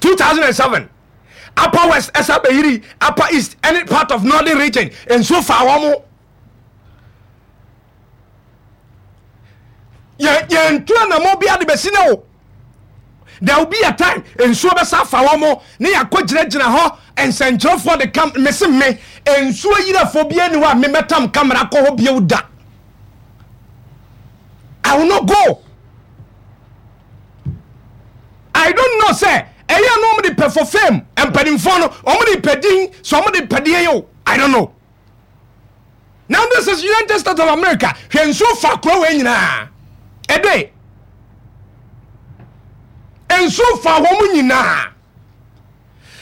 2007 Upper West ɛsa bɛyiri Upper East ɛne part of Northern Region nsuo faa wɔn mo. Yɛntu anamɔ bi ade bɛsi ne o. There will be a time nsuo bɛsa afa wɔn mo ne yɛakɔ gyinagyina hɔ nsɛnkyerɛfoɔ de kam mese me nsuo yirafoɔ bi ani hɔ a memɛtam kamera kɔ hɔ bio da. I will not go. I don't know sɛ ɛyɛ no wɔn de pɛ for fame mpanimfoɔ no wɔn de pɛ din sɛ wɔn de pɛ deɛ yɛ o I don't know. Now this is United States of America hwɛ nsuo fa kuro wei nyinaa ɛde nsuo fa wɔn nyinaa.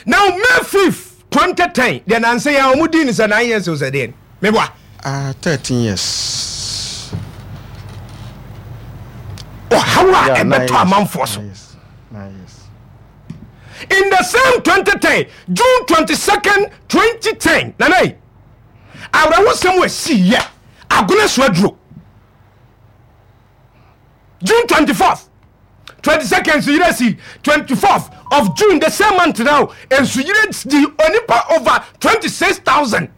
Now May 5th 2010 deɛ nansa yi a wɔn di ne sɛ 9 years o sɛ deɛ meboa. Ah, 13 years. Ɔhaw a ɛbɛtɔ amanfoɔ so. In the same 2010, June 22nd, 2010, nana yi, awerɛhosɛm wɔ si yɛ agona so aduro. June 24th, 22nd nsuyire si 24th of June the same month now nsuyire di onipa over 26,000.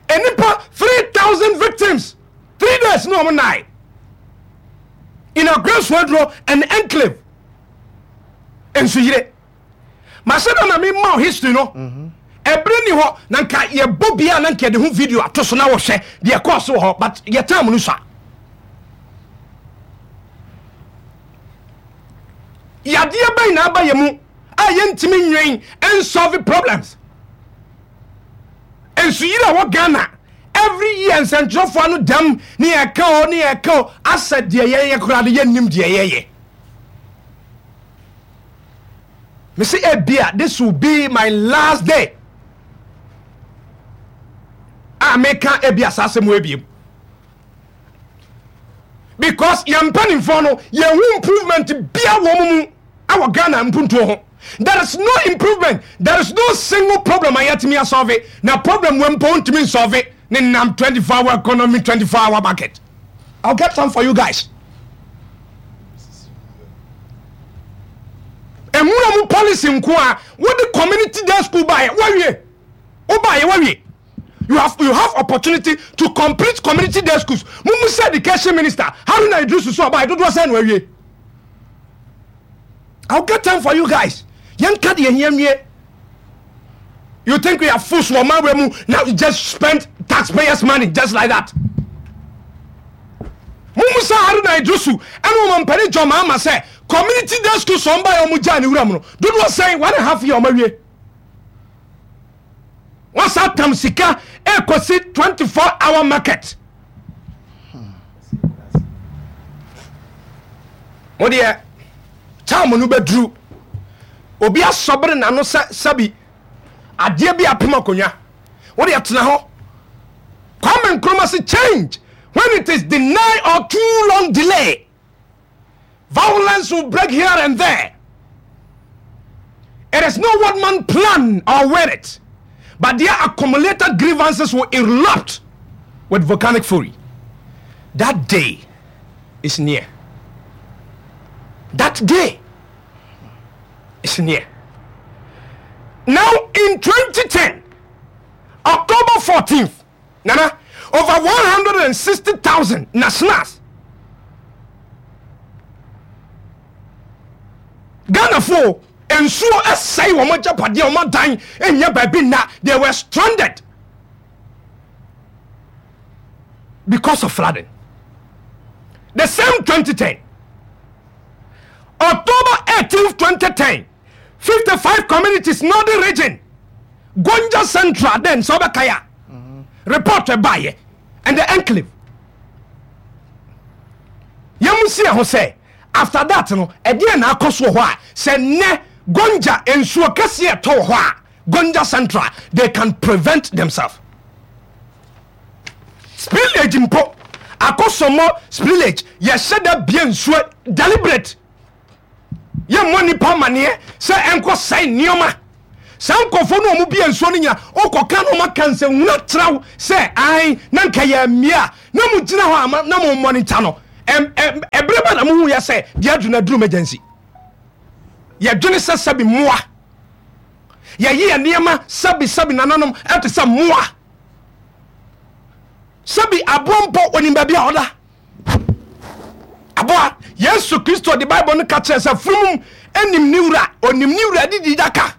Enipa 3,000 victims 3 days no wɔn nine in Agorɔ and enclave nsuyire. Mahyɛ da na mema wo history no. Ɛberɛ ni hɔ na nka yɛbɔ bia na nka yɛde ho video ato so na wɔhwɛ deɛ ɛkɔɔ so wɔ hɔ but yɛ time no sua. Yadeɛ bɛn na aba yɛ mu a yɛntumi nwen nsolve problems. Nsuyiri a wɔ Ghana every year nsɛntwerɛfoɔ ano dam ne yɛka o ne yɛka o asɛ deɛ yɛyɛ koraa no yɛnnim deɛ yɛyɛ. Mese ebia this will be my last day a meka ebia saa asɛm wɔ ebiem because yɛn mpanimfoɔ no yɛn ho improvement bia wɔn mu awɔ Ghana mpuntuo ho. There is no improvement, there is no single problem a yɛtumi asɔve na problem wɔ mpo ntumi nsɔve ne nam 24 hour economy 24 hour market. I'll get some for you guys. Nwura mu policy nko a wode community day school baayɛ wawie wobaayɛ wawie you have opportunity to complete community day schools. Mumu sɛ education minister Haruna Iddrisu so ɔbaayɛ dodoɔ sɛ na wawie. I'll get time for you guys. Yɛnka deɛ hia nwie. You think we are fools wɔ ɔman wei mu na you just spend taxpayers money just like that? Mumu sɛ Haruna Iddrisu ɛne wɔn mpanin John Mahama sɛ community day school sɔn ba yɛ wɔn gyaa ne wura mu no dodoɔ sɛn 1.5 year wɔn awie. Wɔn sa tam sika ekosi 24 hour market. Mo deɛ time no bɛduru obi asɔbere n'ano sɛ sɛbi adeɛ bi apem akonnwa wo deɛ tena hɔ. Kwame Nkrumah se change, when it is denied or too long delay, violence will break here and there. It is not what man plan or will it, but their accumulated grievances will erupt with volcanic fury. That day is near. That day is near. Now in 2010, October 14th, Nana, over 160,000 nationals Ghanafoɔ nsuo ɛsɛe wɔn agyapadeɛ, wɔn adan nyɛ baabi nna. They were stranded because of flooding. The same 2010, October 18th, 2010, 55 communities, northern region, Gonja Central, then sɛ wobɛkae a report ɛbaeɛ and the enclave. Yɛmu si ɛho sɛ after that no ɛdeɛ na akɔ so wɔ hɔ a sɛ nnɛ Gonja nsuo kɛseɛ ɛtɔ wɔ hɔ a Gonja Central they can prevent themselves. Spillage mpo akɔsɔmɔ spillage yɛhyɛ da bie nsuo deliberate yɛmmɔ nipa amaneɛ sɛ ɛnkɔ sɛe nneɛma. Saa nkurɔfoɔ no a wɔn bie nsuo no nyina wokɔka na wɔaka nsɛnhunu akyerɛ sɛ ae na nka yɛ mmea a na mo gyina hɔ ama na mo monitor no ɛberɛ bɛ. na mohu yɛ sɛ deɛ aduru no aduru emergency. Yɛdwene sɛ sɛbi mmoa. Yɛyi yɛ nneɛma sɛbi sɛbi nananom ɛte sɛ mmoa. Sɛbi aboa mpo onim baabi a ɔda. Aboa Yesu Kristo de Bible no ka kyerɛ sɛ funum nim ne wura, onim ne wura didi daka.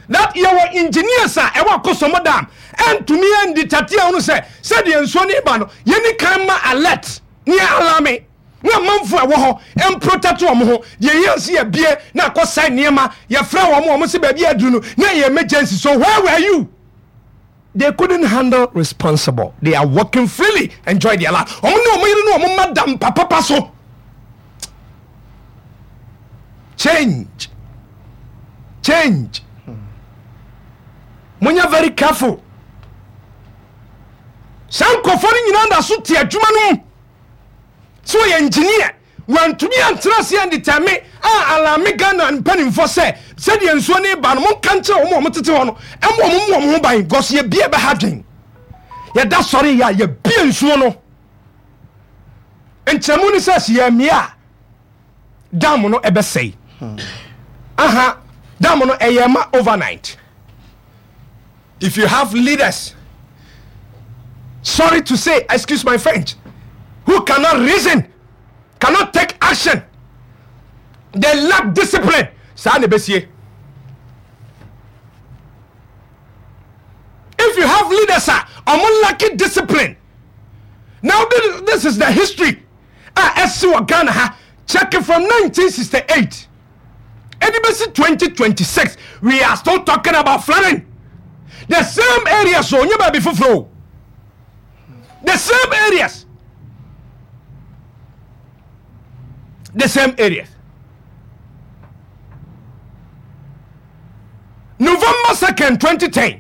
That yɛwɔ engineers a ɛwɔ Akosombo Dam ɛntumi ɛndi tate ahunu sɛ sɛdeɛ nsuo no ba no yɛni kan ma alert ne alame na amanfo a ɛwɔ hɔ mprotect wɔn ho. Deɛ yɛn nso yɛbie na akɔsɛe nneɛma, yɛfrɛ wɔn, wɔn sɛ baabi aduru no na ɛyɛ emergency, so where were you? They couldn't handle responsible, they are working freely, enjoy their life. Wɔn ne wɔn yere ne wɔn mma da mpa papa so. Change, change. Monyɛ very careful. Saa nkurɔfoɔ no nyinaa da so te adwuma no mu. Sɛ ɔyɛ engineer, wantumi antena ase andetɛme a alame Ghana mpanimfoɔ sɛ sɛdeɛ nsuo no reba no monka nkyerɛ wɔn a wɔtete hɔ no ɛma wɔn mmɔ wɔn ho ban because yɛbie bɛha dwen. Yɛda sɔre yɛ a yɛbie nsuo no. Nkyerɛmu ne sɛ sɛ yɛmmie a dam no ɛbɛsɛe. Aha dam no ɛyɛ ma overnight. If you have leaders, sorry to say, excuse my French, who cannot reason, cannot take action, they lack discipline. Saa na ebesie. If you have leaders a ɔmo lack discipline, now this, this is the history a ɛsi wɔ Ghana ha. Check it from 1968. Ɛde bɛsi 2026 we are still talking about flooding. The same areas o, nyɛ baabi foforɔ o. The same areas. The same areas. November 2nd, 2010,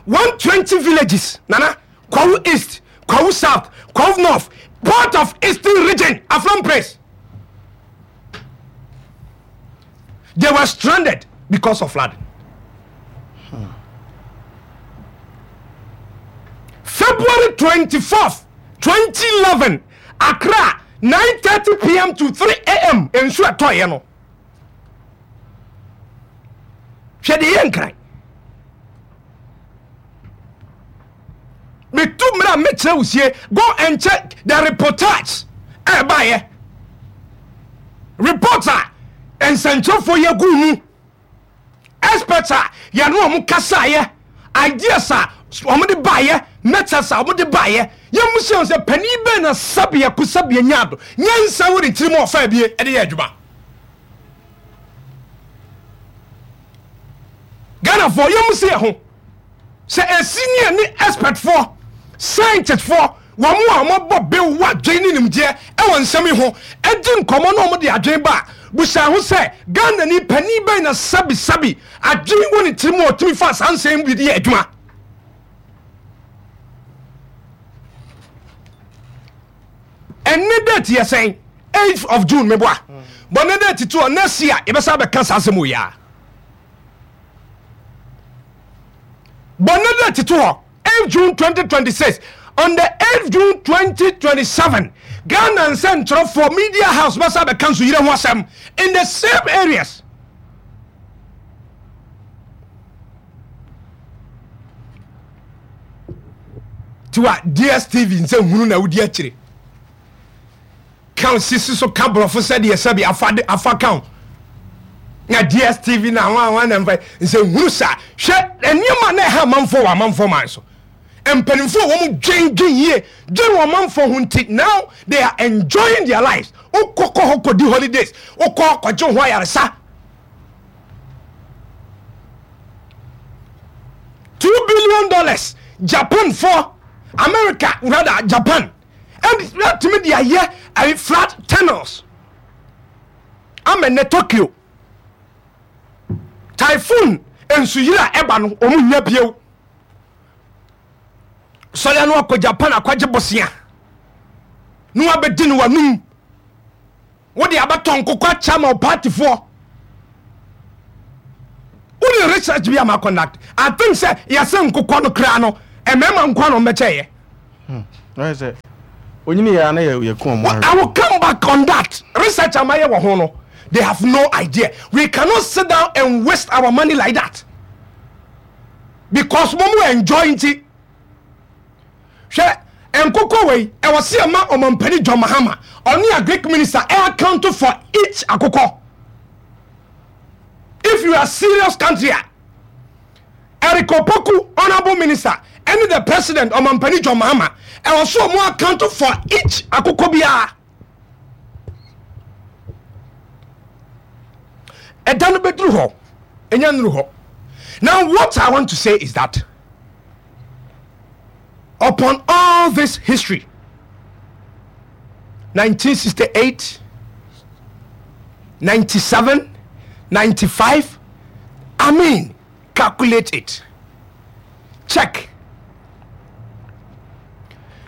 120 villages, Nana, Kwahu East, Kwahu South, Kwahu North, part of Eastern Region, Afram Place. They were stranded because of flooding. February 24th, 2011, Accra, 9:30 p.m. to 3 a.m. Nsu ɛtɔeɛ no. Hwɛ deɛ yɛ nkran. Metu mmerɛ a mɛkyerɛ wo sie. Go and check the reportage ɛbaeɛ. Report a nsɛnkyerɛfoɔ yɛ gu mu. Experts a yɛne wɔn kasaeɛ. Ideas a wɔn de baeɛ. Methods a wɔn de baeɛ. Yɛn mu sɛ sɛ panin bɛn na sɛbea ko sɛbea nya ado. Nyansa wɔ ne tirim a ɔfa abie de yɛ adwuma. Ghanafoɔ yɛn mu sɛ yɛ ho. Sɛ ɛsi ne ɛne expertfoɔ, scientistfoɔ, wɔn a wɔabɔ bew wɔ adwene ne nimdeɛ wɔ nsɛm yi ho di nkɔmmɔ na wɔde adwene ba a, busa ho sɛ, Ghanani panin bɛn na sɛbisɛbi adwene wɔ ne tirim a ɔtumi fa saa nsɛm yi bi de yɛ adwuma? Ɛnne date yɛ sɛn? 8th of June meboa. Bɔ ne date to hɔ next year yɛbɛsa bɛka saa asɛm wɔ yi a. Bɔ ne date to hɔ 8 June 2026. On the 8 June 2027, Ghana nsɛntwerɛfoɔ media house bɛsa bɛka nsuyire ho asɛm in the same areas. Tiwa DSTV nsɛ hunu na wodi akyire. Ka sisi so ka borɔfo sɛdeɛ sɛbi afa de afa ka ho na DSTV na ho ahoa na mfa nsɛ hunu saa. Hwɛ nneɛma na ɛha amanfoɔ wɔ amanfoɔ man so. Mpanimfoɔ a wɔn dwen dwen yie dwen wɔn amanfoɔ ho nti now they are enjoying their lives. Wokɔ kɔ hɔ kɔdi holidays, wokɔ kɔgye ho ayaresa. $2 billion Japan for America rather Japan ɛtumi de ayɛ ɛyɛ flood tunnels ama nnɛ Tokyo typhoon nsuyiri a ɛba no wɔn nya bio sɔre ano akɔ Japan akɔgye bosea na wabɛdi no wanum Wode abɛtɔ nkokɔ akyɛ ama wo partyfoɔ. Wode research bi ama conduct. I think sɛ yɛsɛ nkokɔ no koraa no mmarima nkoa na ɔmbɛkyɛeɛ. Ayɛ sɛ Onyini yɛ ana yɛ yɛ kɔn mu. I will come back on that research amayɛ wɔ ho no they have no idea we cannot sit down and waste our money like that because mo mo enjoy nti hwɛ nkokɔ wei ɛwɔ se ɛma ɔmampani John Mahama ɔne agric minister ɛ account for each akokɔ if you are serious country a Eric Opoku honourable minister ɛne the president ɔmampani John Mahama ɛwɔ so ɔmo account for each akokɔ biara ɛda no bɛduru hɔ ɛnya nnuru hɔ now what I want to say is that upon all this history 1968 97 95 I mean calculate it check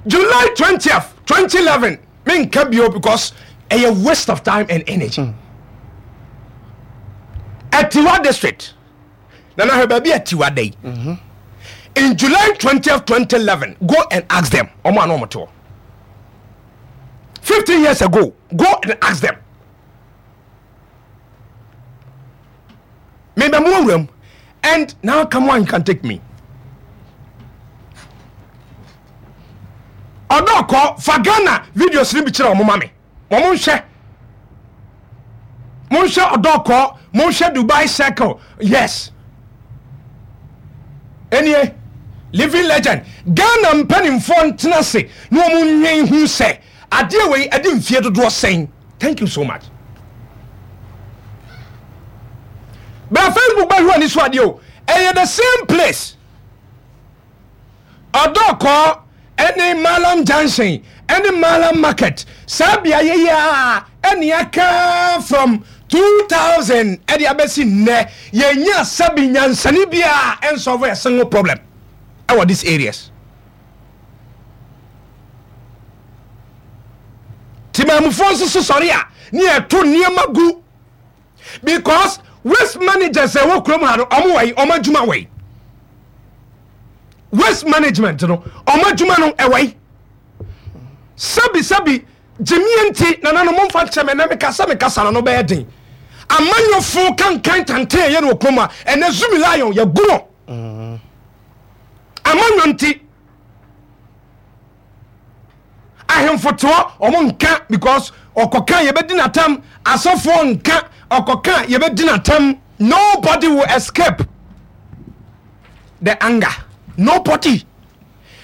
July 20th 2011 menka bio because ɛyɛ waste of time and energy mm. Atiwa district nana hwɛ baabi Atiwa da yi mm-hmm. in July 20th 2011 go and ask them ɔmo ano ɔmo te hɔ 15 years ago go and ask them mebɛ mo awura mu and now come on you can take me ɔdɔ kɔ fa Ghana videos no bi kyerɛ ɔmo ma me wɔn nhwɛ monhwɛ ɔdɔ kɔ monhwɛ Dubai circle yes ɛnie living legend Ghana mpanimfoɔ ntena se na wɔn nwen ho sɛ adeɛ wei ɛde mfie dodoɔ sɛn thank you so much bra Facebook bɛhwɛ ani so adeɛ o ɛyɛ the same place Ɔdɔkɔɔ ne Mallam Junction ne Mallam Market saa beaeɛ yi ara ɛne aka from 2000 ɛde abɛsi nnɛ yɛnya sɛbi nyansani biara ɛnsɔlve a single problem ɛwɔ these areas. Timamufoɔ nso so sɔre a ne yɛto nneɛma gu because waste managers ɛwɔ kurom ha no ɔmo wɔ yi ɔmo adwuma wɔ yi waste management no ɔmo adwuma no ɛwɔ yi sɛbi sɛbi gyimie nti nana no momfa nkyɛ me na meka sɛ mekasa no no bɛyɛ den amanyɔfo kankan tantan ɛyɛ no wɔ kurom a ɛnɛ zumi lion yɛgu no amanyɔ nti ahemfo te hɔ ɔmo nka because ɔkɔka yɛbɛdi n'atam asɔfoɔ nka ɔkɔka yɛbɛdi n'atam nobody will escape the anger nobody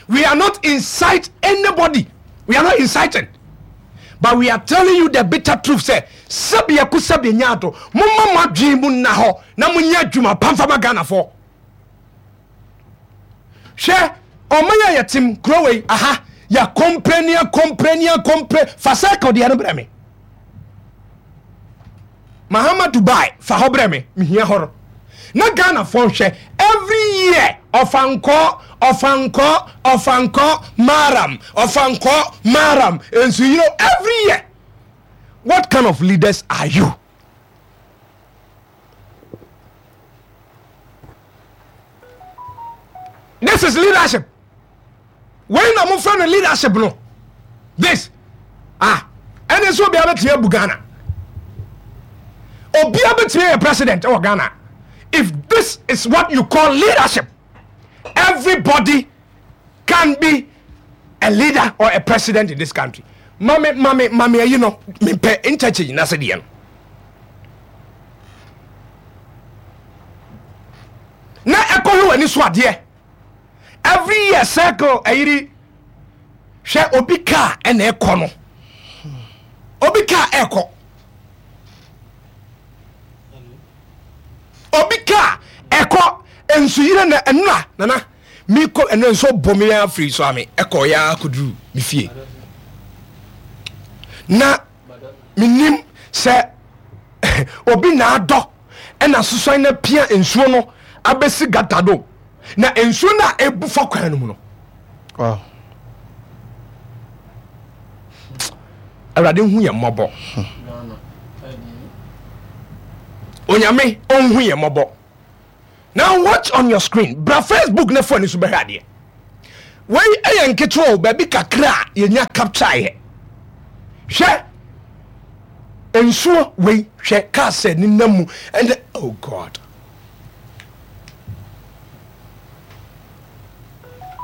we are not incite anybody we are not inciting but we are telling you the bitter truth sɛ sɛbi ɛko sɛbi nya ato momma mo adwene mu nna hɔ na monyɛ adwuma pamfama Ghanafoɔ Hwɛ ɔman a yɛtem kuro wei aha yɛakɔmpre ne akɔmpre ne akɔmpre fa circle deɛ no brɛ me Mahama Dubai fa hɔ brɛ me mehia hɔ no na Ghanafoɔ nhwɛ every year ɔfankɔ ɔfankɔ ɔfankɔ maram ɔfankɔ maram nsuyiro every year what kind of leaders are you This is leadership. Wei na mofrɛ no leadership no. This ah ɛne nso obiara bɛtumi abu Ghana. Obiara bɛtumi ayɛ president ɛwɔ Ghana. If this is what you call leadership, everybody can be a leader or a president in this country. Mame mame mame ayi no mepɛ interchange na se deɛ no. Na ɛkɔhwɛ w'ani so adeɛ every year circle ayiri hwɛ obi kaa ɛna ɛkɔ no obi kaa ɛkɔ obi kaa ɛkɔ nsuyire na ɛnura nana mekɔ ɛnɛ nso bɔ me afiri so ame ɛkɔ ya akɔduru me fie na menim sɛ obi na adɔ ɛna sosan na pia nsuo no abɛsi gata do na nsuo no a ɛbu fa kwan no mu no awurade hu yɛ mmɔbɔ onyame ɔnhu yɛ mmɔbɔ now watch on your screen bra facebook na fo ani so bɛhwɛ adeɛ. Wei yɛ nketewa o, baabi kakra a yɛnya capture yɛ. Hwɛ nsuo wei, hwɛ cars a nenam mu ɛnɛ, oh God.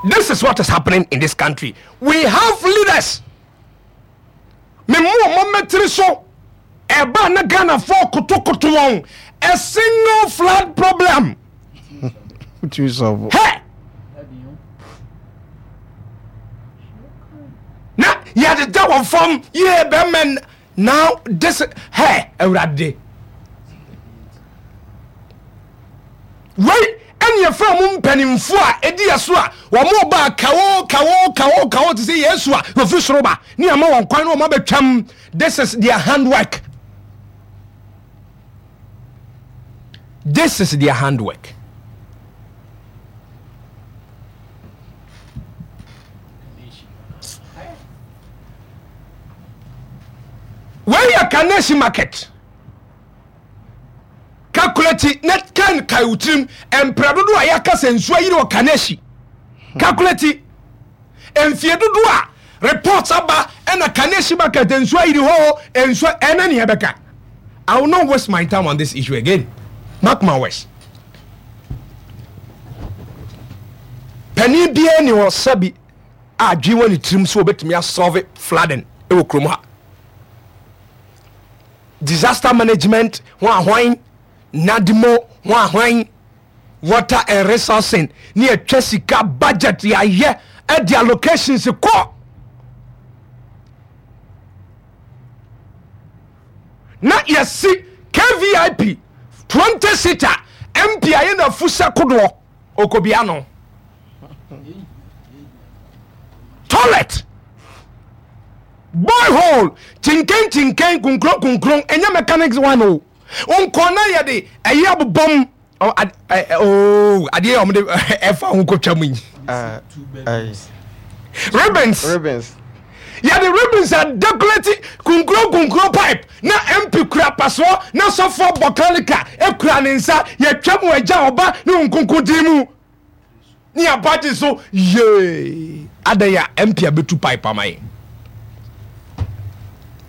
This is what is happening in this country. We have leaders. Me mu ɔmo mɛtiri so ɛba na Ghanafoɔ kotokoto wɔn a single flood problem. Hɛ na yɛdeda wɔn fam yie bɛmɛ now this hɛ awurade wei ɛne yɛfrɛ mo mpanimfoɔ a ɛdi yɛ so a wɔn ba kawo kawo kawo kawo te sɛ Yesu a wɔfiri soro ba ne ama wɔn kwan na wɔn abɛtwam. This is their handwork. This is their handwork. Wei yɛ Kaneshie market. Calculate na kan kae wo tirim mprɛ dodoɔ a yɛaka sɛ nsuo ayiri wɔ Kaneshie. Calculate mfie dodoɔ a reports aba ɛna Kaneshie market nsuo ayiri hɔ o nsuo ɛna nea ɛbɛka. I will not waste my time on this issue again. Mark my words. Panin biara ni hɔ sɛbi a adwene wɔ ne tirim sɛ wɔbɛtumi asɔlve flooding wɔ kurom ha. Disaster management ho ahwan, NADMO ho ahwan, water and resourcing ne yɛtwa sika budget yɛayɛ ɛde allocations kɔ. Na yɛsi KVIP 20 seater MP ayɛ na afu sɛ kodoɔ okobia no. Toilet boyhole kyinkɛn kyinkɛn kunkron kunkron ɛnyɛ mechanics one o nkɔ na yɛde ɛyɛ abobɔm oo adeɛ yɛ wɔde ɛfa ho kɔtwa mu yi ribbons yɛde ribbons adekorati kunkron kunkron pipe na mp kura pasoɔ na sɔfoɔ bɔ kalika ekura ne nsa yɛtwa mu agya ɔba ne nkonko din mu. Ne aba gye so yee. Adɛn a MP abɛtu pipe ama yɛn?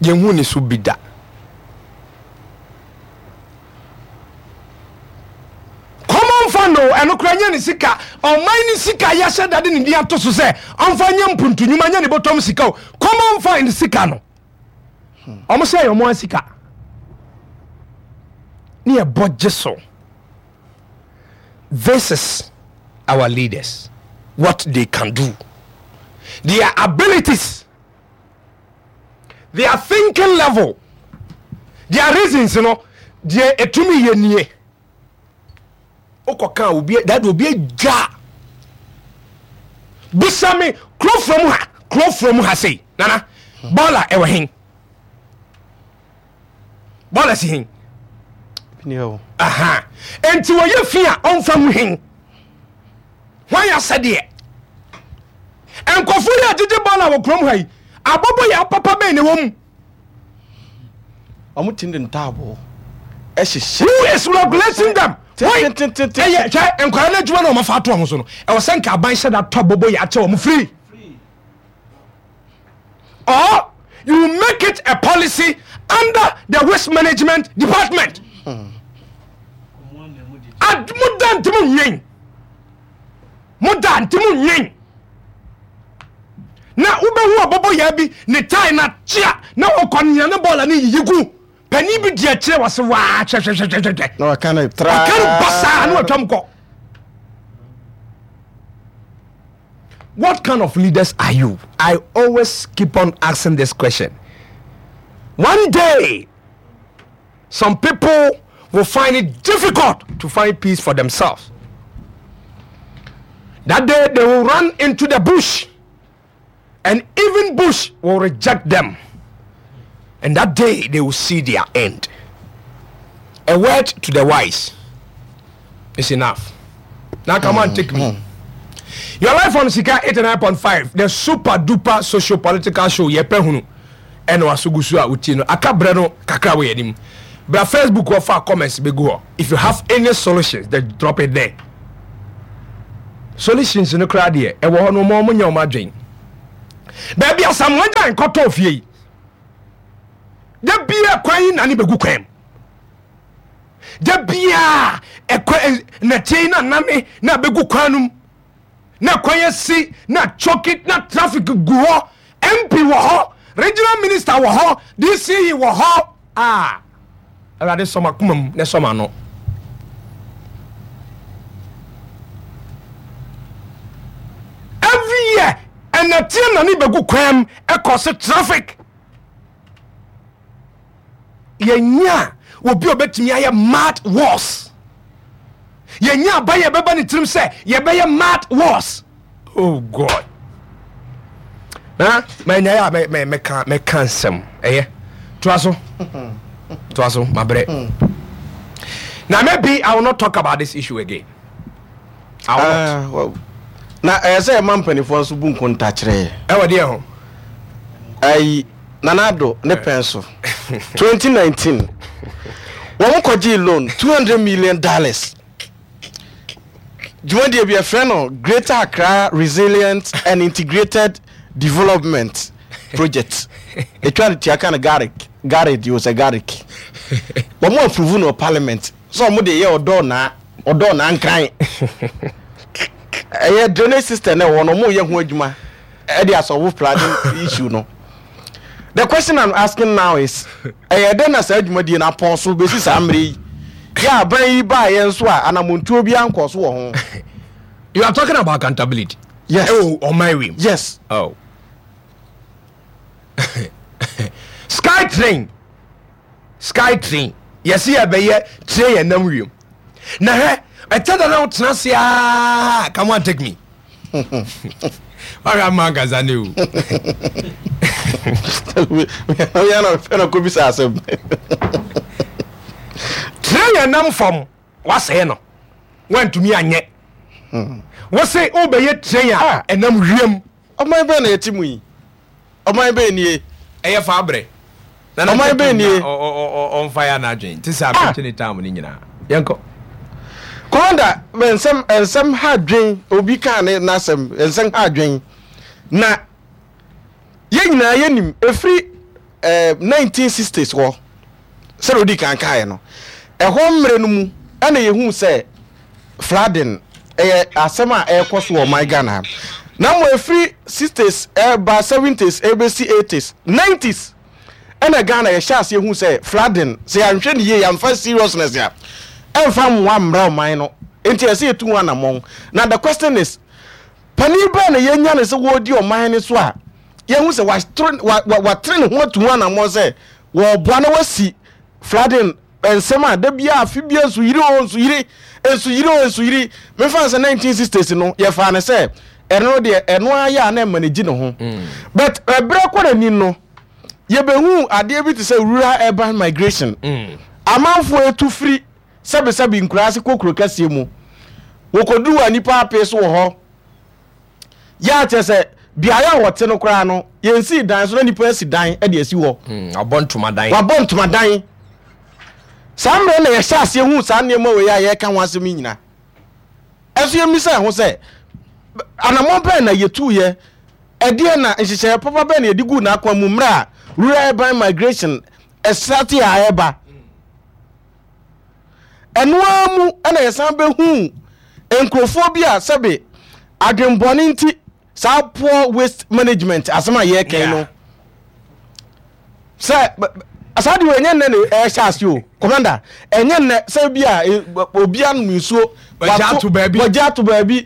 Yɛnhu ne so bi da. Common fund o, ɛno koraa nyɛ ne sika. Ɔman ne sika yɛahyɛ da de ne din ato so sɛ ɔmfa nyɛ mpuntu nnwuma nyɛ ne bɔtɔm sika o. Common fund sika no, wɔn sɛ ɛyɛ wɔn sika. Ne yɛbɔ gye so. This is our leaders what they can do their abilities their thinking level their reasons no deɛ ɛtumi yɛ nie wokɔka obi dade obi agya bisa me kuro from ha kuro from ha sei nana bɔɔla ɛwɔ hen Bɔɔla si hen? Aha. Enti wɔyɛ fi a ɔmfa ngu hen? Hwan asɛdeɛ? Nkurɔfoɔ yi a gyegye bɔɔla wɔ kurom ha yi, abɔbɔ yɛ apapa bɛn na ɛwɔ mu? Wɔn ti de ntaaboo ɛhyehyɛ. Who is regulating them? Ɛyɛ hwɛ nkwadaa no adwuma na wɔn afa ato wɔn so no, ɛwɔ sɛ nka aban hyɛ da tɔ abɔbɔ yɛ akyɛ wɔn free. Or you make it a policy under the waste management department. Ad mo da nti mo nwen. Mo da nti mo nwen. Na wobɛhu ɔbɔbɔ yaa bi ne tae na kyea na ɔkɔ nea ne bɔɔla ne yiyi gu. Panin bi di akyire wɔ se waa hwɛhwɛhwɛhwɛ. Na waka no tra. Waka no basaa na watwam kɔ. What kind of leaders are you? I always keep on asking this question. One day, some people will find it difficult to find peace for themselves. That day, they will run into the bush, and even bush will reject them. And that day, they will see their end. A word to the wise is enough. Now come on, take me. Your life on Sika 89.5, the super duper socio political show. Yɛpɛ hunu ɛna waso gu so a wotie no. Aka brɛ no kakra wɔ yɛn anim. Bra Facebook hɔ fa comments bɛgu hɔ. If you have any solutions, then drop it there. Solutions no koraa deɛ ɛwɔ hɔ no ɔmo ɔmo nyɛ ɔmo adwen. Baabi Asamoah Gyan kɔtɔɔ fie yi, da bia kwan yi nane bɛgu kwan mu. Da bia ɛkwan nɛteɛ yi na nane na bɛgu kwan no mu. Na kwan asi na choki na traffic gu hɔ. MP wɔ hɔ, regional minister wɔ hɔ, DCE wɔ hɔ. Ah, Awurade sɔ m'akoma mu na sɔ m'ano. Every year, ɛnɛteɛ na ne bɛgu kwan mu ɛkɔ so traffic. Yɛnya obi a obɛtumi ayɛ mad wars. Yɛnya aban yɛ bɛba ne tirim sɛ yɛbɛyɛ mad wars. Oh God. Na manya yɛ a mɛka mɛka nsɛm ɛyɛ toa so toa so mabrɛ. Na maybe I will not talk about this issue again. I will not. Ah, well, na ɛyɛ sɛ ɛma mpanimfoɔ nso bu nkonta kyerɛ yɛ. Ɛwɔ deɛ ho. Ayi Nana Addo ne pɛn so 2019 wɔn kɔgyee loan 200 million dollars. Dwumadie bi yɛfrɛ no Greater Accra Resilient and Integrated Development Project. Ɛtwa no tia ka no GARIC, GARID o sɛ GARIC. Wɔn approve no wɔ parliament sɛ wɔn de yɛ ɔdɔ naa ɔdɔ naa nkran. Ɛyɛ drainage system na ɛwɔ no wɔn yɛ ho adwuma ɛde asɔbo flooding issue no. The question I'm asking now is, ɛyɛ dɛn na saa dwumadie no apɔn so bɛsi saa mmerɛ yi? Yɛ aban yi baeɛ nso a anamontuo biara nkɔɔ so wɔ ho. You are talking about accountability. Yes. Oh, on my way. Yes. Oh. Sky train. Sky train. Yɛsi yɛbɛyɛ train yɛn nam wiem. Na hwɛ, ɛkyɛ da na wotena ase aa, come on take me. Wahwɛ ama ankasa ne o. Oyɛ na ɔfɛ na kɔbisa asɛm. Train yɛn nam fam, wasɛe no. Wantumi anyɛ. Wose wobɛyɛ train a ah. ɛnam wiem. Ɔman bɛn na yɛte mu yi? Ɔman bɛn nie? Ɛyɛ fa abrɛ. Ɔman bɛn nie? Ɔmfa yɛ anadwen te sɛ abɛnkye ne tam no nyinaa. Yɛnkɔ. Commander, nsɛm nsɛm ha dwen obi kaa ne n'asɛm nsɛm ha dwen na yɛn nyinaa yɛnim ɛfiri eh, 1960s hɔ sɛdeɛ odi kan kaeɛ no ɛhɔ mmerɛ no mu ɛna yɛhu sɛ flooding ɛyɛ asɛm a ɛrekɔ so wɔ ɔman Ghana ha. Na mmom ɛfiri 60s ɛreba 70s ɛrebɛsi 80s, 90s ɛna Ghana yɛhyɛ aseɛ hu sɛ flooding sɛ yɛanhwɛ no yie yɛamfa seriousness a ɛmfa mmoa mmra ɔman no nti ɛsɛ yɛtu ho anammɔn. Na the question is panin bɛn na yɛnya no sɛ wɔredi ɔman no so a yɛhu sɛ watere ne ho atu ho anammɔn sɛ wɔreboa na wasi flooding Nsɛm a da biara afe biara nsuyiri oo nsuyiri, nsuyiri oo nsuyiri. Mefa no sɛ 1960s no yɛfaa no sɛ ɛno no deɛ ɛno ara yɛ a na ɛma no gye ne ho. But ɛberɛ kɔ n'anim no yɛbɛhuu adeɛ bi te sɛ rural urban migration. Amanfoɔ ɛtu firi sɛbesɛbe nkuraase kɔ kuro kɛseɛ mu. Wɔkɔduru hɔ a nnipa apee so wɔ hɔ. Yɛ a kyerɛ sɛ beaeɛ a wɔte no koraa no, yɛnsii dan so na nnipa asi dan de asi hɔ. Hmm, wabɔ ntomadan. Wabɔ ntomadan. Saa mmerɛ na yɛhyɛ aseɛ hu saa nneɛma wei a yɛreka ho asɛm yi nyina. Ɛnso yɛmmisa yɛn ho sɛ, anammɔn bɛn na yɛtuiɛ? Ɛdeɛn na nhyehyɛeɛ papa bɛn na yɛde guu n'akwan mu mmerɛ a rural urban migration ɛsrate a ɛreba? Ɛno ara mu na yɛsan bɛhuu nkurɔfoɔ bi a sɛbe adwenbɔne nti saa poor waste management asɛm a yɛreka yi no sɛ saa deɛ ɛnyɛ nnɛ na ɛhyɛ ase o commander ɛnyɛ nnɛ sɛ bi a e, obi anom nsuo wɔgye ato baabi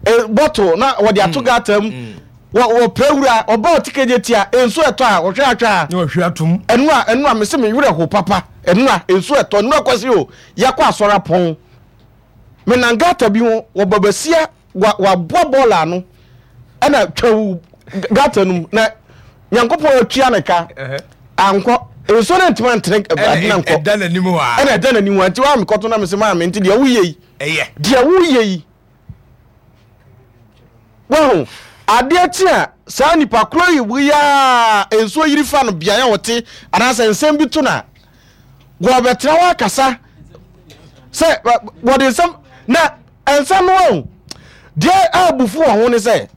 e, bottle na wɔde ato mm. gata mu mm. Wɔpɛ wura, ɔba ɔte kegye tia, nsu ɛtɔ a, ɔhwɛ atwa a. Na ɔhwɛ atom. Ɛnura, ɛnura, mese me werɛ ho papa. Ɛnura, nsu ɛtɔ, ɛnura kwasi o, yɛakɔ asɔre apɔn. Me nan gata bi ho, wɔba basia, wa, waboa bɔɔla ano, ɛna twawu gata no mu, na Nyankopɔn atua ne ka, ankɔ. Nsuo no ntoma ntene ade na nkɔ. Ɛda n'anim hɔ a. Ɛna ɛda n'anim hɔ a, nti wa mekɔto na mese maame, nti deɛ woyɛ yi. Ɛyɛ. Deɛ woyɛ yi. Wahu? Adeɛ kye a, saa nipa korɔ yi wei ara a nsuo yiri fa no beaeɛ a ɔte anaasɛ nsɛm bi to no a, wɔbɛtena hɔ akasa sɛ wɔde nsɛm na nsɛm no wahu. Deɛ abufu wɔ ho ne sɛ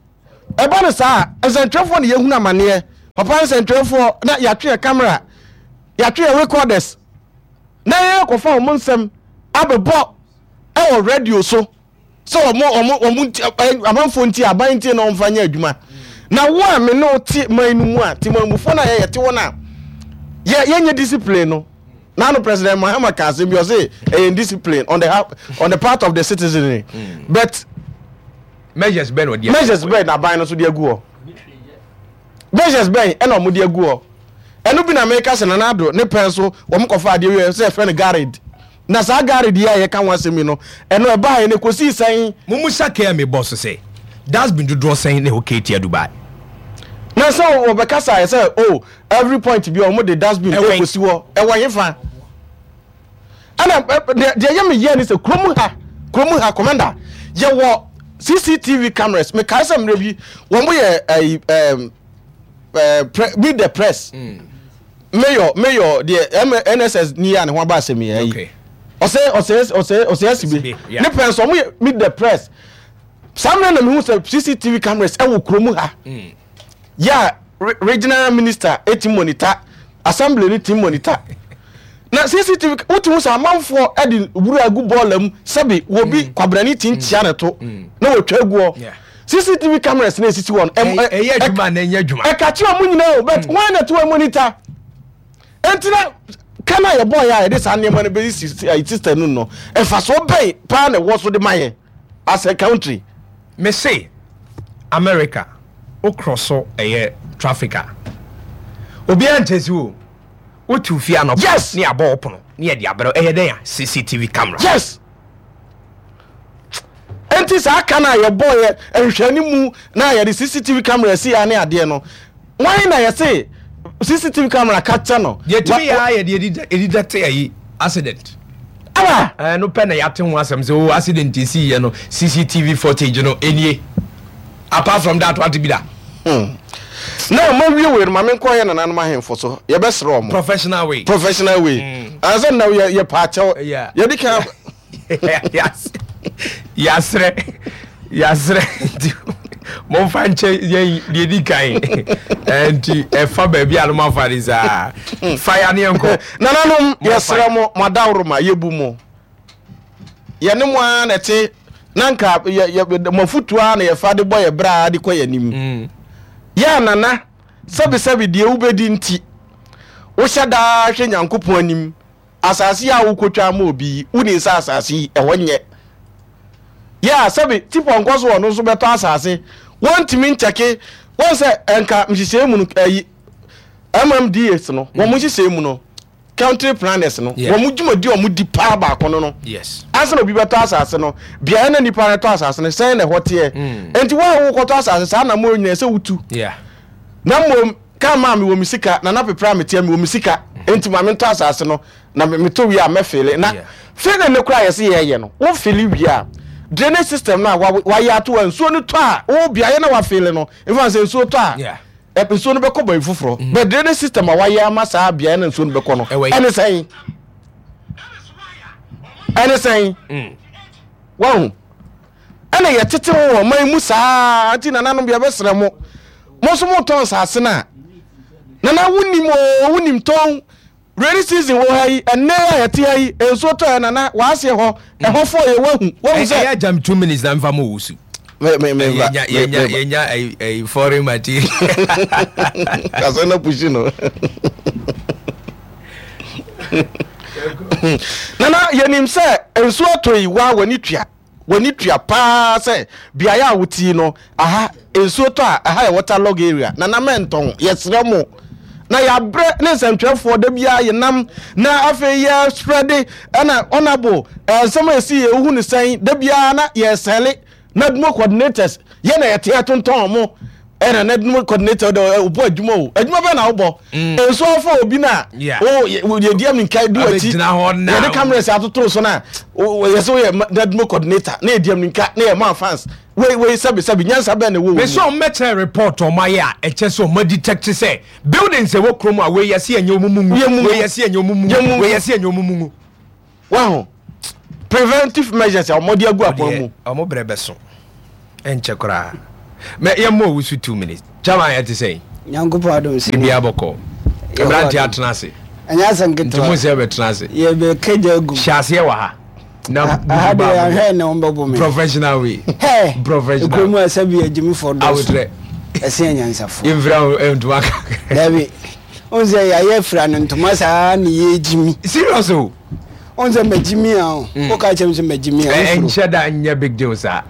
ɛba no saa a, nsɛntwerɛfoɔ na yɛhunu amaneɛ. Papa nsɛntwerɛfoɔ na yɛatwe yɛ camera, yɛatwe yɛ recorders na yɛkɔfa wɔn nsɛm abɛbɔ ɛwɔ radio so sɛ wɔn wɔn wɔn nti amanfoɔ nti aban nti na wɔmfa nyɛ adwuma. Na wo a me ne wo te man no mu a temanmufoɔ no a yɛyɛ te wɔn a yɛ yɛnyɛ discipline no. Nano President Mahama ka asɛm bi ɔse ɛyɛ indiscipline on the on the part of the citizenry mm. but measures bɛn na ɔde measures bɛn na aban no so de agu hɔ measures bɛn ɛna wɔn de agu hɔ ɛno bi na meka sɛ Nana Addo ne pɛn so wɔn kɔfa adeɛ wi sɛ ɛfɛ no garid na saa garid yi a yɛka ho asɛm yi no ɛno ɛbaa yɛ no kɔsii sɛn. Mo mu sa kɛ me bɔ so sɛ dustbin dodoɔ sɛn na ɛwɔ KTR Dubai. Na sɛ wɔbɛkasa yɛ sɛ oh every point bi a wɔn de dustbin ɛkɔsi hɔ ɛwɔ hefa ɛna deɛ deɛ yɛ me yɛ ne sɛ kurom ha kurom ha commander yɛwɔ cctv cameras mekae sɛ mmerɛ bi wɔn yɛ ɛyi ɛɛm ɛɛ meet the press mm. mayor mayor deɛ nss ni yɛ a ne ho aba asɛm yɛ ɛyi ɔsɛ ɔsɛ ɔsɛ ɔsɛ asibe ne pɛn so wɔn yɛ meet the press saa mmerɛ na mehu sɛ cctv cameras ɛwɔ kurom ha. Mm. yɛ a regional minister ti monitor assembly no ti monitor na cctv wotu sɛ amanfoɔ de wura agu bɔɔla mu sɛbi wɔbi mm. kwabrani ti nkyia ne to mm. na wɔtwa aguɔ cctv cameras na esisi wɔn ɛyɛ adwuma na ɛnyɛ adwuma ɛka kyerɛ ɔmo nyinaa o but mm. wɔn na ɛte wɔn monitor nti na kan a yɛbɔ yɛ a yɛde saa nneɛma no bɛyi system no no mfasoɔ bɛn paa na ɛwɔ so de ma yɛn as a country. Me se America wo krɔso ɛyɛ traffic a obiara nkyɛsi wo wo te ofie anɔpa yes. ne abɔ wo pono ne yɛde abrɛ ɛyɛ dɛn a CCTV camera. Yes. Enti saa ka no a yɛbɔɔ yɛ nhwɛne mu na yɛde CCTV camera si ya ne adeɛ no wɔn na yɛse CCTV camera ka kyɛ no. Yɛtumi yɛ a yɛde edidɛte ayi accident. Awa. Ɛno pɛ na yɛate ho asɛm sɛ o oh, accident esi yɛ no CCTV footage no enie. Apart from that wate bi da. Hmm. Na ɔma wie wei no ma menkɔ yɛ nananom ahemfo so yɛbɛsrɛ ɔmo. Professional way. Professional way. Mm. Ansa na yɛ yɛ paakyɛw. Yɛde kan. Yasrɛ yasrɛ nti momfa nkyɛ yɛn deɛ di kan nti ɛfa baabi a no mafa ne saa fa ya ne yɛnkɔ. Nananom yɛsrɛ mo mo adaworoma yɛbu mo yɛne mo ara na ɛte na nka yɛ yɛ mo afutuo ara na yɛfa de bɔ yɛ bra de kɔ yɛn anim mm. yɛ anana sɛbisɛbi deɛ wobɛdi nti wohyɛ daa hwɛ Nyankopɔn anim Asase a wokotwa ama obi yi, wonim sɛ asase yi, ɛhɔ nyɛ. Yɛ a, sɛbe tipɔnkɔ so ɔno nso bɛtɔ asase. Wɔntumi nkyɛke. Wɔn sɛ ɛnka nhyehyɛe mu no, ɛyi, MMDAs no, wɔn nhyehyɛe mu no, country planners no, wɔn dwumadi a wɔn di paa baako no no. Yes. Ansa na obi bɛtɔ asase no, beaeɛ na nipa no tɔ asase no, sɛn na ɛhɔ teɛ. Mm. Enti wɔn a wokɔtɔ asase saa na mo nyinaa sɛ wotu. Yeah. Na mmom Kaa maa mewɔ me sika, Nana Pepra a meteɛ mewɔ me sika enti ma mentɔ asase no na metɔ wie a mɛfeele. Na feeling no koraa a yɛse yɛyɛ no, wo feele wie a, drainage system no a wayɛ ato hɔ a nsuo no tɔ a, wo beaeɛ na wafeele no, mfa no sɛ nsuo tɔ a, nsuo no bɛkɔ baabi foforɔ. Mm. But drainage system a wayɛ ama saa beaeɛ na nsuo no bɛkɔ no, ɛne sɛn? Ɛne sɛn? Mm. Wahu? Ɛna yɛtete ho wɔ ɔman mu saa nti nananom yɛbɛsrɛ mo mo nso motɔn nsase no a nana wonim o wonim tɔn rainy season wɔ ha yi ɛnɛ a yɛte ha yi nsuo tɔ yɛ nana wɔaseɛ hɔ ɛhɔ fɔ yɛ wahu wahu sɛ ɛyɛ jam 2 minutes na mfa mo wusu yɛnya foreign material kasɛ na pushi no nana yɛnim sɛ nsuo atɔ yi wa w'ani tua w'ani tua paa sɛ beaeɛ a wotii no aha nsuo tɔ a ɛha yɛ water log area nana mɛntɔn yɛsrɛ mo na yɛabrɛ ne nsɛntwerɛfoɔ da biara yɛnam na afei yɛ spreade ɛna honorable nsɛm a ɛsi yɛ wohu ne sɛn da biara na yɛsɛle Nadmo coordinators yɛ na yɛte atontɔn ɔmo ɛna nadmo coordinator dɛ ɔbɔ adwuma o adwuma bɛn na wobɔ mm. nso afa obi na o yɛdi aminka di w'akyi yɛde cameras atoto so na yɛsɛ woyɛ nadmo coordinator na yɛdi aminka na yɛ ma fans wei wei sɛbi sɛbi nyansa bɛn na ɛwɔ wɔ mu. Mesɛ ɔmo bɛkyerɛ report ɔmo ayɛ a ɛkyɛ sɛ ɔmo detect sɛ buildings ɛwɔ kurom a wei yɛse ɛnyɛ ɔmo mu ngu wei yɛse ɛnyɛ ɔmo mu ngu wei yɛse ɛnyɛ ɔmo mu ngu. Wahu? Preventive measures a wɔde agu akwan mu. Wɔn brɛ bɛso. Ɛnkyɛ koraa. Mɛ yɛmmɔ owu so 2 minutes. Chairman, ɛte sɛn? Nyankopɔn adom sɛ Biribiara bɔkɔ. Mmeranteɛ atena ase. Ɛnyɛ asɛm Nti ketewa. mo sɛ bɛtena ase. Yɛbɛka gya agu. Hyɛ aseɛ wɔ ha. Na Aha deɛ yɛahwɛ ne wɔn bɛbɔ me. Professional way. Hɛ! Professional. Kurom a sɛbi agyimifoɔ dɔɔso. Awotrɛ. Ɛsen anyansafoɔ. Yɛmfira wo ntoma kakra. Dabi. Wohu sɛ yɛayɛ afira no ntoma saa ne yɛgyimi. Serious o. Wohu sɛ magyimi a o. Woka kyerɛ me sɛ magyimi a wosuro. Ɛnhyɛ da nyɛ big deal saa.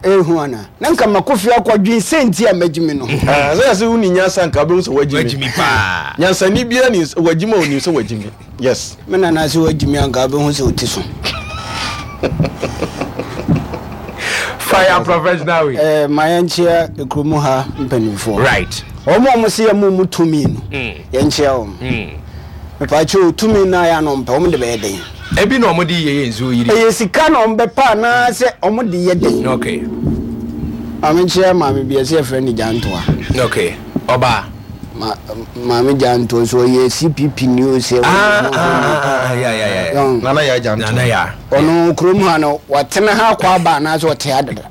Ehu ana? Na nka makɔ fie akɔdwen sɛ nti a magyimi no. Ah, sɛ yɛsɛ woni nyansa nka wobɛhu sɛ wagyimi. Wagyimi paa. Nyansani biara ni wagyimi a onim sɛ wagyimi. Yes. Me nana sɛ wagyimi anka wobɛhu sɛ ɔti so. Fire professional way. Eh, ma yɛnkyea kurom ha mpanimfoɔ. Right. Wɔn a wɔse yɛma wɔn tumi no, yɛnkyea wɔn. Mepaakyɛw, tumi no a yɛ a na wɔmpɛ, wɔn de bɛyɛ dɛn? Ebi na wɔde yɛ yɛ nsuo yiri. Ɛyɛ sika na wɔbɛpɛ anaasɛ wɔde yɛ dɛn? Okay. Maame nkyea maame bi, ɛsɛ yɛfrɛ no Gyantoa. Okay. Ɔbaa. Ma, maame Gyantoa nso ɔyɛ CPP ni o sɛ. Ah, ah, ah, yeah, yeah, yeah. Nana Yaa Gyantoa. Nana Yaa. Ɔno kurom ha no, watena ha akɔ aba anaasɛ ɔte ha dada?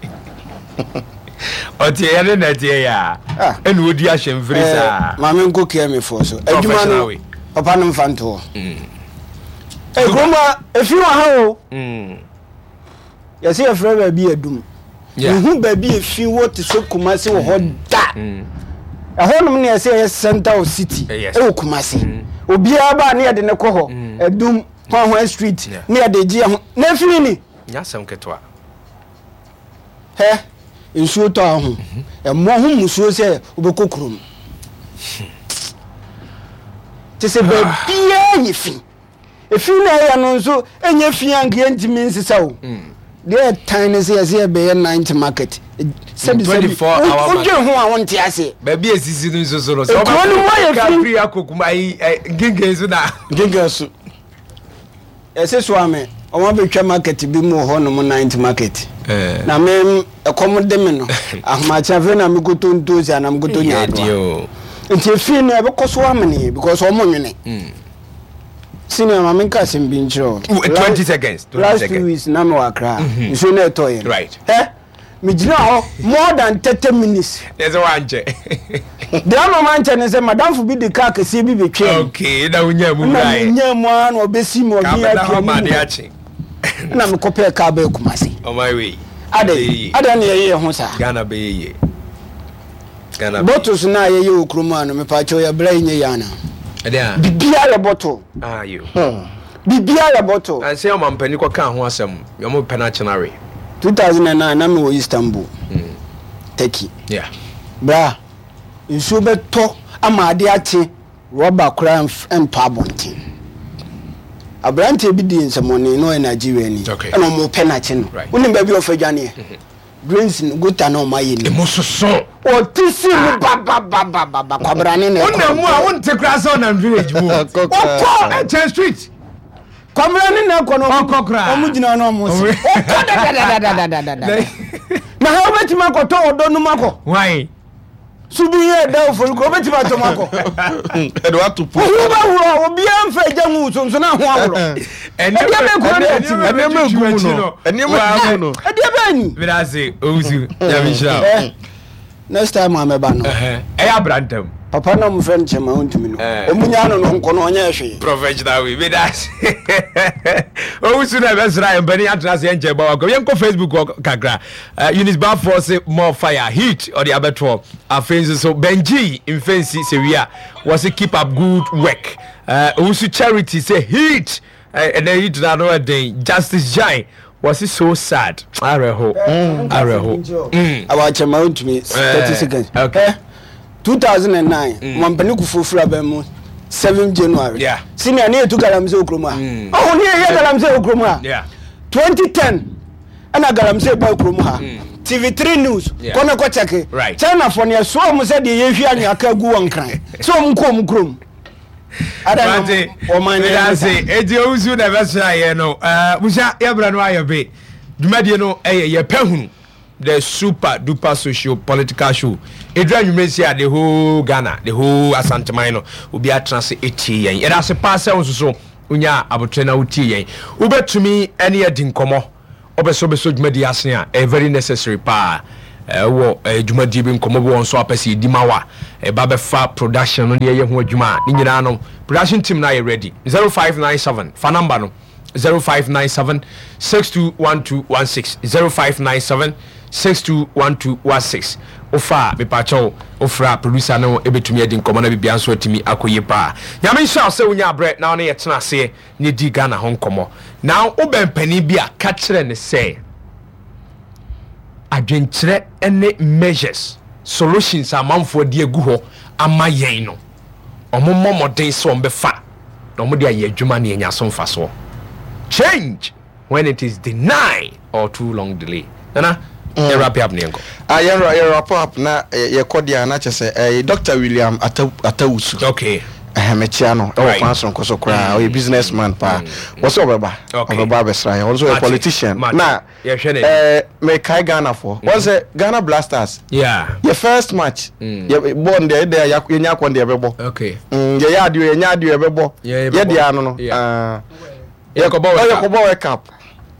Ɔte yɛ ne na ɛteɛ yɛ a. Ah. Ɛna ɔdi ahyɛmfiri Eh, saa. maame nkɔ kia mi fɔ so. Adwuma Professional no, way. papa no mfa ntoɔ. Eh, kurom ha, efi wɔ ha o. Yɛsɛ yɛfrɛ baabi Adum. Yeah. Mehu baabi efi wɔ te sɛ Kumasi wɔ hɔ da. Ɛhɔnom na yɛsɛ yɛyɛ center of city Eh, yes. ɛwɔ Kumasi. Obiara ba ne yɛde ne kɔ hɔ. Adum, Hwanhwan street Yeah. ne yɛde gye ɛho. Na efiri ni. Nyɛ asɛm ketewa. Hɛ, nsuo tɔ a ho. Ɛmmɔ ho mmusuo sɛ wobɛkɔ kurom. Te sɛ baabiara yɛ fi. Efi na ɛyɛ no nso ɛnyɛ fi a nka yɛntumi nsesa o. Deɛ ɛtan ne sɛ yɛsɛ yɛbɛyɛ night market. Sɛbi sɛbi 24 hour market. wodwen ho a wonte aseɛ. Baabi a esisi no nso so no. Sɛ Ekuro no mu ayɛ fi. Firi akɔ kuma ayi nkenken so na. Nkenken so. Yɛse soa me, ɔmo abɛtwa market bi mu wɔ hɔ nom night market. Na me ɛkɔm de me no, ahomakye afei na mekɔtɔ ntoosi anaa mekɔtɔ nyaadoa. Nti efi no ɛbɛkɔ so amene because ɔmo nwene. Senior ma menka asɛm bi nkyerɛ wo. 20 seconds. 20 Last seconds. 2 weeks na mewɔ Accra. Nsuo no ɛtɔeɛ no. Right. Hɛ, megyina hɔ more than 30 minutes. Yɛ sɛ wankyɛ. Deɛ ama mankyɛ ne sɛ madamfo bi de kaa kɛseɛ bi bɛtwaa mu. Okay, na wonya mu Na wuraeɛ. menya mu ara na ɔbɛsi mu Kaa ɔde bɛda hɔ atwa ma mu. ade akye. Na mekɔpɛɛ kaa bɛɛ Kumasi. Ɔman wei. Adɛn Bɛyɛ yie. adɛn na yɛyɛ yɛn ho saa? Ghana bɛyɛ yie. Ghana bɛyɛ Bottles no a yɛyɛ wɔ kurom ha no mepaakyɛw yɛbrɛ yi nyɛ yie anaa? Ɛdeɛn a? Biribiara yɛ bottle. Ah, yo. Biribiara yɛ bottle. Ansa ɔmampanin kɔkaa ho asɛm, wɔn pɛ no akyena we. 2009 na mewɔ Istanbul, Turkey. Yeah. Bra, nsuo bɛtɔ ama ade akye, rɔba koraa ntɔ abɔnten. Aberanteɛ bi dii nsɛmmɔne na ɔyɛ Nigeriani. Okay. Ɛna wɔn pɛ no akye no. Right. Wonim baabi a ɔfa dwaneɛ? Drains no, gutter na wɔn ayɛ no. Emu soso. Ɔte si mu bababababa kwabrane na ɛkɔ. Wonam mu a wonte koraa sɛ ɔnam village mu. Ɔkɔ ɛkyɛn street. Kwabrane na ɛkɔ no. Ɔkɔ koraa. Wɔn gyina no wɔn se. Ɔkɔ dadadadadadada. Na ha wobɛtumi akɔtɔ ɔdɔ no mu akɔ. Why? Subi yɛ ɛda ofori kuro wobɛtumi atɔ mu akɔ. Ɛde wato po. Wohu bɛworɔ obiara mfa agya ngu so nso na ho aworɔ. Ɛdeɛ bɛn kuro ne ɛte mu? Nneɛma egu mu no. Nneɛma egu mu no. Ɛdeɛ bɛn ni? Medase Owusu Nyame nhyira wo. Eh, next time a mɛba no. Ɛyɛ abrantam. Papa na ɔmo frɛ no kyɛma ɔntumi no. Ɔmo nyaa no no nkɔ no ɔnyɛ hwee. Professional way medase. Owusu na ɛbɛsra yɛn mpanin atena ase yɛn nkyɛn bɔ wakɔ. Yɛnkɔ Facebook hɔ kakra. Eunice Bafoɔ se more fire heat ɔde abɛtoɔ. Afei nso so Benji Mfensi sɛ wia wɔse keep up good work. Owusu Charity sɛ heat ɛnɛ heat na ano ɛden. Justice Jai wɔse so sad awerɛho awerɛho. Awakyɛma ɔntumi 30 seconds. Okay. 2009 Mampani Kufuor firi aban mu 7 January. Yeah. Senior ne yɛtu galamsey wɔ kurom ha. Ɔho ne yɛyɛ galamsey wɔ kurom ha. Yeah. 2010 ɛna galamsey baa kurom ha. TV3 News kɔ na kɔ kyɛke. Right. China fo ne ɛsoa wɔn sɛ deɛ yɛhwie anwea ka gu wɔn nkran sɛ wɔn nkɔ wɔn kurom. Ada na wɔn ne yɛn ase. Eti owusu na ɛbɛsra yɛn no. Musa yɛbrɛ no ayɛ be. Dwumadie no ɛyɛ yɛpɛ hunu. The super duper socio political show. Ɛduru anwummerɛ si a the whole Ghana, the whole Asanteman no, obi atena ase ɛtie yɛn. Yɛda ase paa sɛ wo nso so wonya abotrɛ na wotie yɛn. Wobɛtumi ɛne adi nkɔmmɔ, wopɛ sɛ wobɛsɔ dwumadie ase a, ɛyɛ very necessary paa. Wɔ dwumadie bi nkɔmmɔ bi wɔ nso a pɛ sɛ yɛdi ma wo a, ɛba bɛfa production no ne yɛyɛ ho adwuma a, ne nyinaa no production team no ayɛ ready. 0597 fa number no 0597 621216 0597 621216 wofa a mepaakyɛw wofrɛ a producer no ɛbɛtumi adi nkɔmmɔ na biribiara nso atumi akɔ yie paa. Nyame nhyira wo sɛ wonya abrɛ na wo ne yɛtena aseɛ na yɛdi Ghana ho nkɔmmɔ. Na wobɛn panin bi a ka kyerɛ no sɛ adwenkyerɛ ne measures, solutions a amanfoɔ de agu hɔ ama yɛn no, wɔmmɔ mmɔden sɛ wɔbɛfa na wɔde ayɛ adwuma na yɛanya so mfasoɔ. Change when it is denied or too long delay. Nana, yɛ wrap up ne yɛnkɔ. Ah, yɛn yɛ wrap up na yɛkɔ deɛ a na kyɛ sɛ ɛyɛ Dr. William Atawusu. Okay. Ɛhɛn mekyia no ɛwɔ kwan soronko so koraa ɔyɛ business man paa wɔsɛ ɔbɛba ɔbɛba abɛsra yɛn ɔno nso ɔyɛ politician na ɛɛ mekae Ghana foɔ wɔn sɛ Ghana Blasters yɛ first match yɛ bɔɔl no deɛ yɛ yɛnya akɔn deɛ yɛbɛbɔ yɛyɛ adeɛ yɛnya adeɛ yɛbɛbɔ yɛ deɛ ano no Yɛkɔbɔ World Cup. Yɛkɔbɔ World Cup.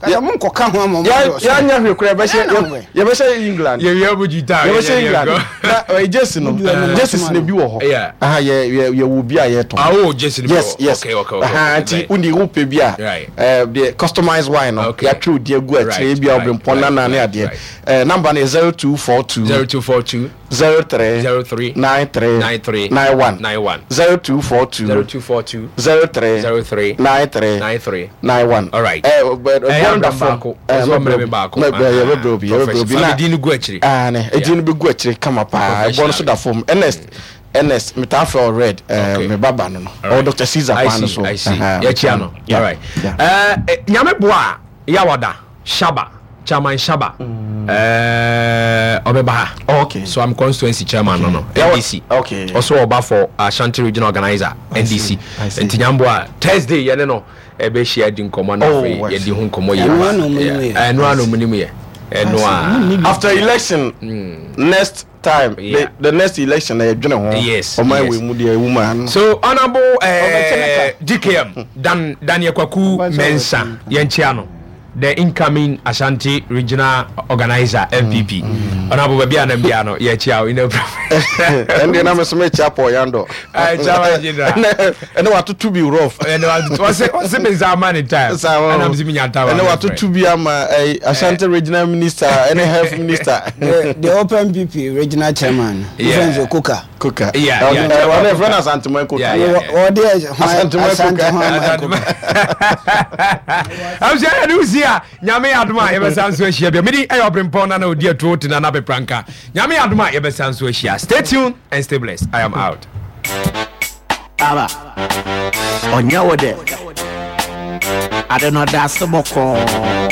Kasa mo nkɔka ho ama mo adɔɔso. Yɛanyɛ hwee koraa yɛbɛhyɛ yɛbɛhyɛ England. Yɛwia mo gyitaa. Yɛbɛhyɛ England. Na ɛyɛ jersey no jerseys no bi wɔ hɔ. Aha yɛ yɛ yɛwɔ bi a yɛtɔn. Ah oh jersey no bi wɔ hɔ. Yes yes. Okay okay okay. Aha nti wodi wopɛ bi a. Right. Ɛɛ deɛ customized wine no. Okay. Yɛatwerɛ odi agu akyire ebi a ɔbrempɔn nana ne adeɛ. Ɛɛ number no yɛ 0242. 0242. 03 03 93 93 91 91 0242 0242 03 03 93 93 91. All right. Eh, but Ɛyɛ bɔn da abrɛ fam. baako. Ɔsɛ ɔmmerɛ me baako. Yɛbɛbrɛ obi, yɛbɛbrɛ obi. Fa Na me din no gu akyire. Ah, ne, edin no bɛgu akyire kama paa. Ɛbɔ no so da fam. Ernest, Ernest, metaa frɛ wo Red, eh, Okay. me baba no no. All Ɔwɔ right. Dr. Caesar I kwan no see, so. I see. Aha, Yɛkyia no. yeah, All right. yeah. Eh, eh, Nyame boa a, Yawada, Shaba, Chairman Shaba, eh, ɔbɛba ha. Oh, okay. So I'm constituency chairman no no, Yeah, NDC. okay. Ɔso ɔba for Ashanti regional organizer, NDC. I see. Nti Nyame boa a, Thursday yɛne no ɛbɛhyia di nkɔmmɔ na Oh, afei I yɛdi see. ho nkɔmmɔ yie. Ɛno ara na ɔmo nim yɛ. Ɛno ara na ɔmo nim yɛ. Ɛno ara. After election, next time Yeah. the, the next election na yɛdwene ho Yes, ɔman yes. wei mu deɛ ɛwu maa no So honourable Ɔbɛkyɛ eh, DKM Dan Daniel Kwaku Ɔbɛkyɛ Mensah ɔbɛkyɛ. yɛnkyea no the incoming Ashanti regional organizer MPP honourable baabi a nam biara no yɛkyea wo in the ɛndeɛ na meso mekyia Paul Yandɔ Aye, Chairman General. ɛnɛ ɛnɛ watoto bi rough ɛnɛ wɔse wɔse me nsa ama ne time Saa wɔ- ɛna mese menya time ɛnɛ a watoto bi ama eh, Ashanti regional minister ɛne health minister The Open PP regional chairman, Yeah. friends of Kuka. Kuka Yeah, yeah, Ɔno- Chairman ɔno ɛfrɛ no Kuka. Asanteman Kuka Yeah, yeah. Ɔde Asante Asante Kuka. Hwan Kuka. Abusua yɛde wo si a Nyame yɛ adom a yɛbɛsan nso ahyia bio. Medi ɛyɛ ɔbrempɔn nana odi atuo te nana pepranka. Nyame yɛ adom a yɛbɛsan nso ahyia. Stay tuned and stay blessed. I am out. Aba, ɔnyɛ wo dɛ. Ade no ɔda ase bɔkɔɔ.